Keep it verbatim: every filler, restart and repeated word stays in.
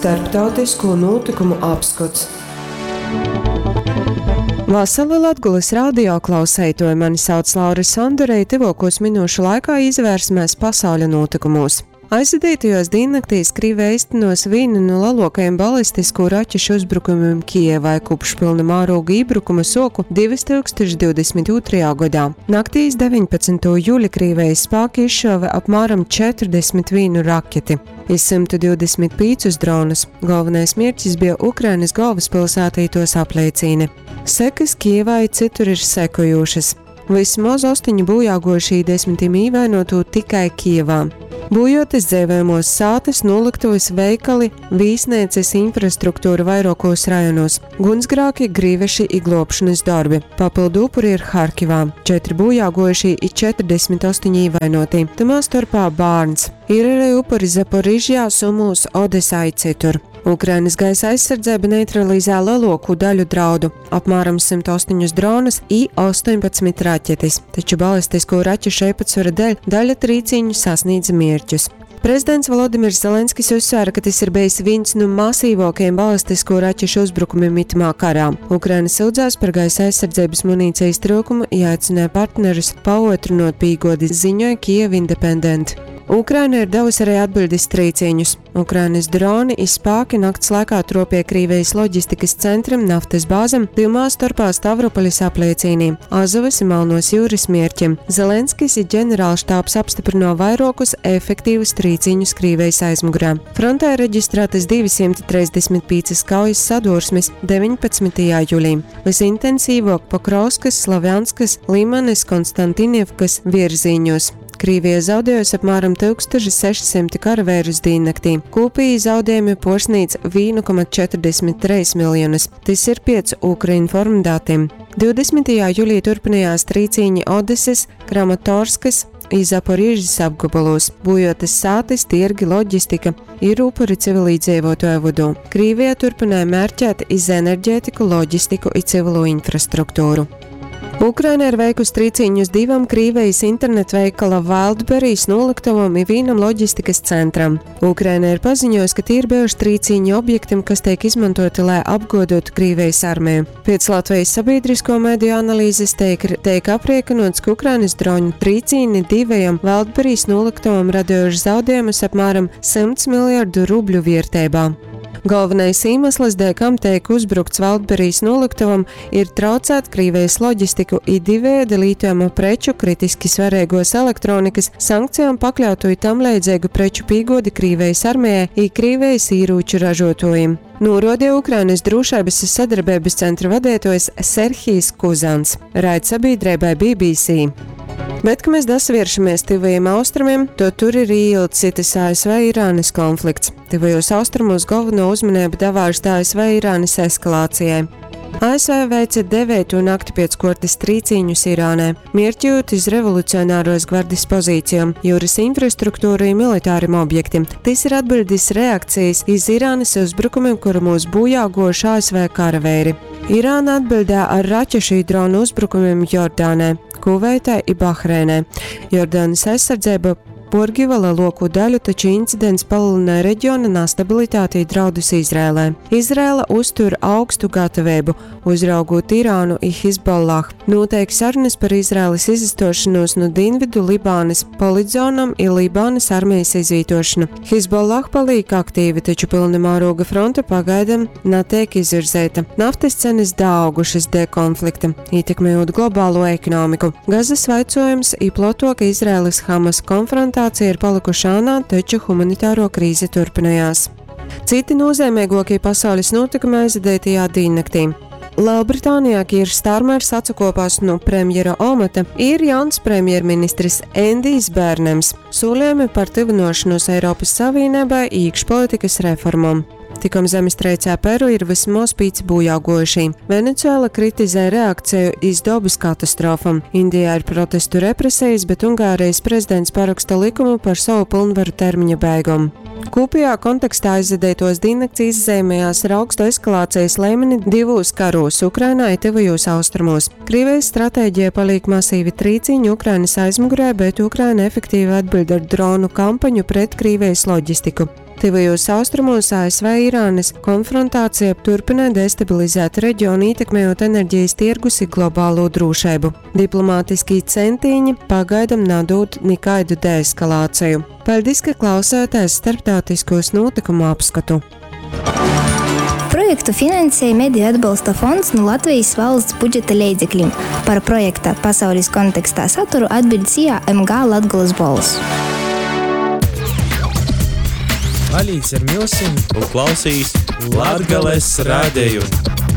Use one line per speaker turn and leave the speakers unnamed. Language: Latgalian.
Starptautisko nūtykumu apskots. Vasali Latgolys radio klauseituoji, mani sauc Laura Sondore, i tyvuokūs minūšu laikā īsavērsimēs pasauļa nūtykumūs. Aizvadītajuos dīnnaktīs Krīveja eistynuos vīnu nu leluokajim balistiskū raķešu uzbrukumim Kijevai kopš pylna mārūga ībrukuma suoku divi tūkstoši divdesmit ūtrajā godā. Naktī iz deviņpadsmytū juli Krīvijas spāki izšuove apmēram četrdesmit vīnu raketi i symtu divdesmit pīcus dronus. Galvenais mierķis bija Ukrainas galvaspilsēta i tuos apleicīne. Sekys Kijevā i cytur ir sekojūšas. Vismaz astoņi bojāguojušī, desmitim īvainotū tikai Kijevā. Būjotas dzeivojamuos sātys, nolyktuvis, veikali, vīsneicys, infrastruktūra vairuokos rajonos, gunsgrāki, grīveši i gluobšonys dorbi. Papyldu upuri ir Harkivā – četri bojāguojušī i četrdesmit ostoņi īvainotī, tymā storpā bārns. Ir arī upuri Zaporižjā, Sumūs, Odesā i cytur. Ukrainas gaisa aizsardzeiba neutralizē lielāko daļu draudu – apmēram symtu astoņus dronus i ostoņpadsmit raķetis, taču balistisko raķešu īpatsvara dēļ daļa trīcīņu sasniedz mierķus. Prezidents Volodimirs Zelenskis uzsvēra, ka tas ir bijis viens no masīvākajiem balistisko raķešu uzbrukumiem itamā karā. Ukraina sūdzās par gaisa aizsardzības munīcijas trūkumu i aicināja partnerus paotrunot pīgodi, ziņoja Kiev Independent. Ukraina ir devusi arī atbildes trīcīņus. Ukrainas droni i spāki nakts laikā tropie Krīvijas loģistikas centram, naftas bāzem, tymā storpā Stavropolis apleicīnī, Azovas i Malnos jūras mierķim. Zelenskis i ģenerālštābs apstiprino vairuokus efektīvus trīcīņus Krīvijas aizmugurē. Frontē reģistrētas divi simti trīsdesmit pīcas kaujas sadursmes deviņpadsmytajā julī. Visintensīvāk Pokrovskas, Slavjanskas, Limanes, Konstantinivkas virzīņos. Krīvija zaudējusi apmēram tūkstoš sešsimt karavērus dīnnaktī. Kopīgi zaudējumi porsnīdz vienu komatu četrdesmit treis miljonus. Tas ir piec Ukrinform datiem. divdesmitajā julī turpinājās trīcīņi Odeses, Kramatorskas i Zaporižas apgabalos, būjotas sātis, tirgi, loģistika, ir upuri civilīdzīvotāju vidū. Krīvija turpināja mērķēt iz enerģētiku, loģistiku i civilo infrastruktūru. Ukraina ir veikusi trīcīņus divam Krīvijas internetveikala Wildberries noliktavam i vīnam loģistikas centram. Ukraina ir paziņojusi, ka tie ir bijuši trīcīņi objektam, kas tiek izmantoti, lai apgodotu Krīvijas armiju. Pēc Latvijas sabiedrisko mediju analīzes tiek, tiek apriekinots, ka Ukrainas droņu trīcīni divajam Wildberries noliktavam radījuši zaudējumus apmēram simts miljardu rubļu vērtībā. Galvenais iemesls, dēļ kam tiek uzbrukts Wildberries noliktavam, ir traucēt Krīvijas loģistiku i divēda lītojamo preču, kritiski svarīgos elektronikas, sankcijām pakļautu i tam leidzīgu preču pīgodi Krīvijas armijai i Krīvijas īrūču ražotājiem. Norodīja Ukrainas drošības sadarbības centra vadītājs Serhijs Kuzans. Raid sabiedrībai B B C. Bet, kad mēs dasavēršamies tuvajiem austrumiem, to tur ir ieilts A S V-Irānas konflikts. Tuvajos austrumos galveno uzmanību davārst A S V-Irānas eskalācijai. A S V veica devēto nakti pēc kortes trīcīņus Irānē, mierķot iz revolucionāros gvardes pozīcijām, jūras infrastruktūru i militārim objektiem. Tas ir atbildis reakcijas iz Irānas uzbrukumiem, kuru mūs bojā gojuši A S V karavēri. Irāna atbildē ar raķešu i dronu uzbrukumiem Jordānē, Kuveitē i Bahreinē. Jordānas aizsardzība porgiva lielāko daļu, taču incidents palielināja reģiona nestabilitāti i draudus Izrēlē. Izrēla uztur augstu gatavību, uzraugot Irānu i Hizbollah. Notiek sarunas par Izrēlas izastošanos no Dienvidu Libānas politzonam i Libānas armijas izvietošanu. Hizbollah paliek aktīvi, taču pilna mēroga fronte pagaidām netiek izvirzīta. Naftas cenas daaugušas dēļ konflikta, ietekmējot globālo ekonomiku. Gazas vaicojums i plotoka Izraēlas Hamas konfrontācija ir palikuši ānā, taču humanitāro krīze turpinājās. Citi nozīmīgākie pasaules notikumi aizvadītajā diennaktī. Lielbritānijā Kīrs Starmers atsakopās no premjera omata, ir jauns premjerministrs Endijs Bērnems. Solījumi par tuvināšanos Eiropas Savienībai iekšpolitikas reformām. Tikom zemestreicē Peru ir vismaz pīci bojāgojuši. Venecuēla kritizē reakciju iz dabas katastrofam. Indijā ir protestu represijas, bet Ungārijas prezidents paraksta likumu par savu pilnvaru termiņa beigom. Kopējā kontekstā aizvadītos diennakts izzīmējās ar augstu eskalācijas līmeni divos karos Ukrainā i Tuvajos austrumos. Krievijas stratēģija paliek masīvi trīciņi Ukrainas aizmugurē, bet Ukraina efektīvi atbild ar dronu kampaņu pret Krievijas loģistiku. Tyvajos austrumos A S V Irānys konfrontācija turpynoj destabilizēt reģionu, ītekmejot enerģijas tirgus i globālo drūšeibu. Diplomātiskī centīņi pagaidam nadūd nikaidu deeskalāciju. Paļdis, ka klausāties starptautiskos notikumu apskatu.
Projektu finansēja Mediju atbalsta fonds no Latvijas valsts budžeta leidzekļiem. Par projekta Pasaules kontekstā saturu atbild SIA M G Latgolas Bolss.
Palīdz ar myusim
un klausīs
Latgales radeju.